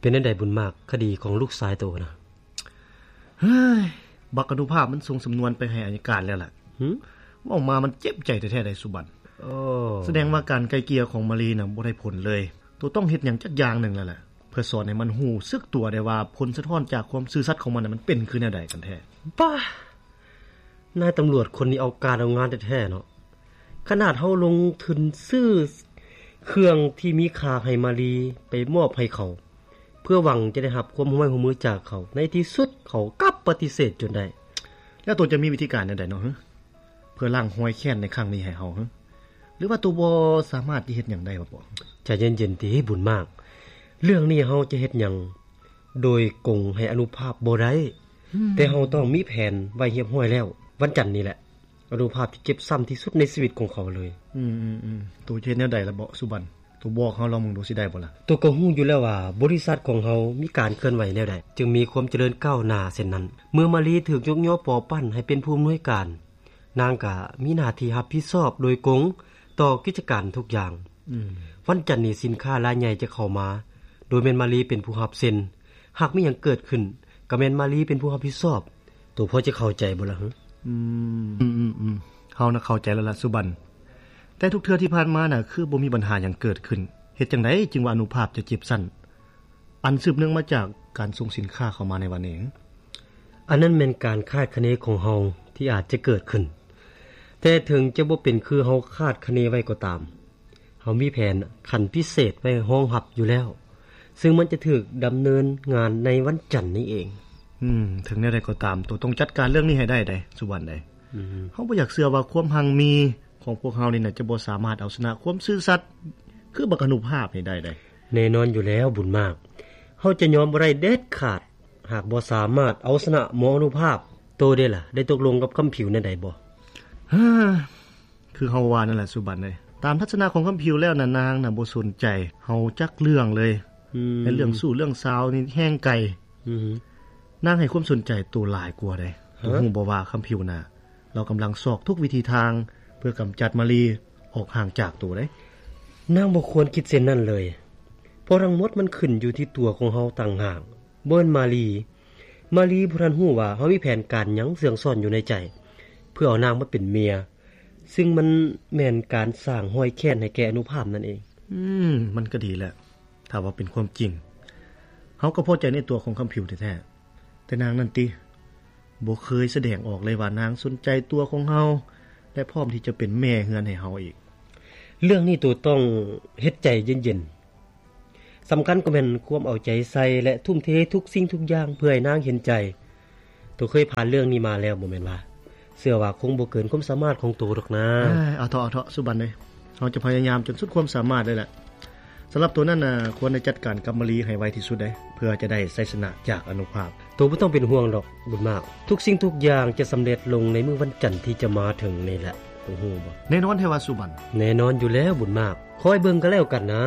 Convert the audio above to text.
ປັນຈັ່ງໃດບຸນມາກ ຄະດີຂອງລູກຊາຍໂຕນະ? ເຮີ້ຍ ບັກອະນຸພາບມັນສົ່ງສຳນວນໄປໃຫ້ອັຍການແລ້ວລະ. ຫື? ເວົ້າມາມັນເຈັບໃຈແທ້ໆໃດສຸບັນ. ໂອ້ ສະແດງວ່າການໄກ່ເກ່ຍຂອງມາລີນະບໍ່ໄດ້ຜົນເລີຍ. ໂຕຕ້ອງເຮັດຫຍັງຈັກຢ່າງໜຶ່ງແລ້ວລະ ເພື່ອສອນໃຫ້ມັນຮູ້ສຶກຕົວໄດ້ວ່າ ຜົນສະທ້ອນຈາກຄວາມຊື່ສັດຂອງມັນນະ ມັນເປັນຄືແນວໃດກັນແທ້. ປ້າ! ນາຍຕຳຫຼວດຄົນນີ້ເອົາການເອົາງານແທ້ໆເນາະ. ຂະໜາດເຮົາລົງທຶນຊື້ເຄື່ອງທີ່ມີຄ່າໃຫ້ມາລີໄປມອບໃຫ້ເຂົາ ເພື່ອຫວັງຈະໄດ້ຮັບຄວາມຮ່ວມໄມ້ຮ່ວມມືຈາກເຂົາ, ໃນທີ່ສຸດເຂົາກັບປະຕິເສດຈົນໄດ້. ແລ້ວໂຕຈະມີວິທີການແນວໃດເນາະ ເພື່ອລ້າງຮອຍແຄ້ນໃນຄັ້ງນີ້ໃຫ້ເຮົາ? ຫຼືວ່າໂຕບໍ່ສາມາດຈະເຮັດຫຍັງໄດ້ບໍ? ໃຈເຢັນໆຕິ ບຸນມາກ. ເລື່ອງນີ້ເຮົາຈະເຮັດຫຍັງໂດຍກົງໃຫ້ອະນຸພາບບໍ່ໄດ້, ແຕ່ເຮົາຕ້ອງມີແຜນໄວ້ຮຽບຮ້ອຍແລ້ວ. ວັນຈັນນີ້ແຫຼະ ອະນຸພາບທີ່ເຈັບຊ້ຳທີ່ສຸດໃນຊີວິດຂອງເຂົາເລີຍ. ອືມໆໆ ໂຕຈະເຮັດແນວໃດລະເບາະ ສຸບັນ? ໂຕບອກເຮົາລອງເບິ່ງດູ ຊິໄດ້ບໍ່ລະ? ໂຕກໍຮູ້ຢູ່ແລ້ວວ່າ ບໍລິສັດຂອງເຮົາມີການເຄື່ອນໄຫວແນວໃດ ຈຶ່ງມີຄວາມຈະເລີນກ້າວໜ້າເຊັ່ນນັ້ນ. ເມື່ອມາລີຖືກຍົກຍໍປໍປັ້ນໃຫ້ເປັນຜູ້ອຳນວຍການ, ນາງກໍມີໜ້າທີ່ຮັບຜິດຊອບໂດຍກົງຕໍ່ກິດຈະການທຸກຢ່າງ. ອືມ ວັນຈັນນີ້ສິນຄ້າລາຍໃຫຍ່ຈະເຂົ້າມາ ໂດຍແມ່ນມາລີເປັນຜູ້ຮັບເຊັນ. ຫາກມີຫຍັງເກີດຂຶ້ນ ກໍແມ່ນມາລີເປັນຜູ້ຮັບຜິດຊອບ. ໂຕພໍຈະເຂົ້າໃຈບໍ່ລະ? ອືມ ອືມໆ ເຮົານະເຂົ້າໃຈແລ້ວລະ ສຸບັນ. ແຕ່ທຸກເທື່ອທີ່ຜ່ານມານະ ຄືບໍ່ມີບັນຫາຫຍັງເກີດຂຶ້ນ. ເຮັດຈັ່ງໃດຈຶ່ງວ່າອະນຸພາບຈະເຈັບຊ້ຳ ອັນສືບເນື່ອງມາຈາກການສົ່ງສິນຄ້າເຂົ້າມາໃນວັນນີ້? ອັນນັ້ນແມ່ນການຄາດຄະເນຂອງເຮົາທີ່ອາດຈະເກີດຂຶ້ນ, ແຕ່ເຖິງຈະບໍ່ເປັນຄືເຮົາຄາດຄະເນໄວ້ກໍຕາມ, ເຮົາມີແຜນຂັ້ນພິເສດໄວ້ຮອງຮັບຢູ່ແລ້ວ, ເຊິ່ງມັນຈະຖືກດຳເນີນງານໃນວັນຈັນນີ້ເອງ. ອືມ, ເຖິງແນວໃດກໍຕາມ, ໂຕຕ້ອງຈັດການເລື່ອງນີ້ໃຫ້ໄດ້ເດ້ ສຸວັນເດ້. ອືມ, ເຮົາບໍ່ຢາກເຊື່ອວ່າຄວາມຮັ່ງມີຂອງພວກເຮົານີ້ນະ ຈະບໍ່ສາມາດເອົາຊະນະຄວາມຊື່ສັດຄືບັກອະນຸພາບນີ້ໄດ້ເດ້. ແນ່ນອນຢູ່ແລ້ວ ບຸນມາກ. ເຮົາຈະຍອມບໍ່ໄດ້ເດັດຂາດ ຫາກບໍ່ສາມາດເອົາຊະນະໝໍອະນຸພາບ. ໂຕເດລະ ໄດ້ຕົກລົງກັບຄຳຜິວແນວໃດບໍ່? ເຮີ ຄືເຮົາວ່ານັ້ນແຫຼະ ສຸບັນເອີຍ. ຕາມທັດສະນະຂອງຄຳຜິວແລ້ວນະ ນາງນະບໍ່ສົນໃຈເຮົາຈັກເລື່ອງເລີຍ. ອືມ, ແມ່ນເລື່ອງຊູ້ເລື່ອງສາວນີ້ແຮງໄກ. ອືມ, ນາງໃຫ້ຄວາມສົນໃຈໂຕຫຼາຍກວ່າເດ້. ຮະ? ໂຕຮູ້ບໍ່ວ່າຄຳຜິວນະ ລາວກຳລັງຊອກທຸກວິທີທາງເພື່ອກຳຈັດມາລີອອກຫ່າງຈາກໂຕເດ້. ນາງບໍ່ຄວນຄິດເຊັ່ນນັ້ນເລີຍ, ເພາະທັງໝົດມັນຂຶ້ນຢູ່ທີ່ຕົວຂອງເຮົາຕ່າງຫາກ, ບໍ່ແມ່ນມາລີ. ມາລີບໍ່ທັນຮູ້ວ່າເຮົາມີແຜນການຫຍັງເຊື່ອງຊ້ອນຢູ່ໃນໃຈ ເພື່ອເອົານາງມາເປັນເມຍ, ຊຶ່ງມັນແມ່ນການສ້າງຮອຍແຄ້ນໃຫ້ແກ່ອະນຸພາບນັ້ນເອງ. ອືມ, ມັນກໍດີແຫຼະ. ຖ້າວ່າເປັນຄວາມຈິງ, ເຮົາກໍພໍໃຈໃນຕົວຂອງຄຳຜິວແທ້ໆ, ແຕ່ນາງນັ້ນຕິ ບໍ່ເຄີຍສະແດງອອກເລີຍວ່ານາງສົນໃຈຕົວຂອງເຮົາ ແລະ ພ້ອມທີ່ຈະເປັນແມ່ເຮືອນໃຫ້ເຮົາອີກ. ເລື່ອງນີ້ໂຕຕ້ອງເຮັດໃຈເຢັນໆ. ສຳຄັນກໍແມ່ນຄວາມເອົາໃຈໃສ່ ແລະ ທຸ່ມເທທຸກສິ່ງທຸກຢ່າງເພື່ອໃຫ້ນາງເຫັນໃຈ. ໂຕເຄີຍຜ່ານເລື່ອງນີ້ມາແລ້ວບໍ່ແມ່ນວະ? ເຊື່ອວ່າຄົງບໍ່ເກີນຄວາມສາມາດຂອງໂຕດອກນາ. ເອີຍ, ເອົາເຖາະ, ເອົາເຖາະ, ສຸບັນເອີຍ. ເຮົາຈະພະຍາຍາມຈົນສຸດຄວາມສາມາດເລີຍແຫຼະ. ສຳລັບໂຕນັ້ນນະ, ຄວນໄດ້ຈັດການກັບມາລີໃຫ້ໄວທີ່ສຸດເດ້, ເພື່ອຈະໄດ້ໄຊຊະນະຈາກອະນຸພາບ. ໂຕບໍ່ຕ້ອງເປັນຫ່ວງດອກ, ບຸນມາກ. ທຸກສິ່ງທຸກຢ່າງຈະສຳເລັດລົງໃນມື້ວັນຈັນທີ່ຈະມາເຖິງນີ້ແຫຼະ, ໂຕຮູ້ບໍ່? ແນ່ນອນແທ້ວະ, ສຸບັນ. ແນ່ນອນຢູ່ແລ້ວ, ບຸນມາກ. ຄອຍເບິ່ງກໍແລ້ວກັນນາ.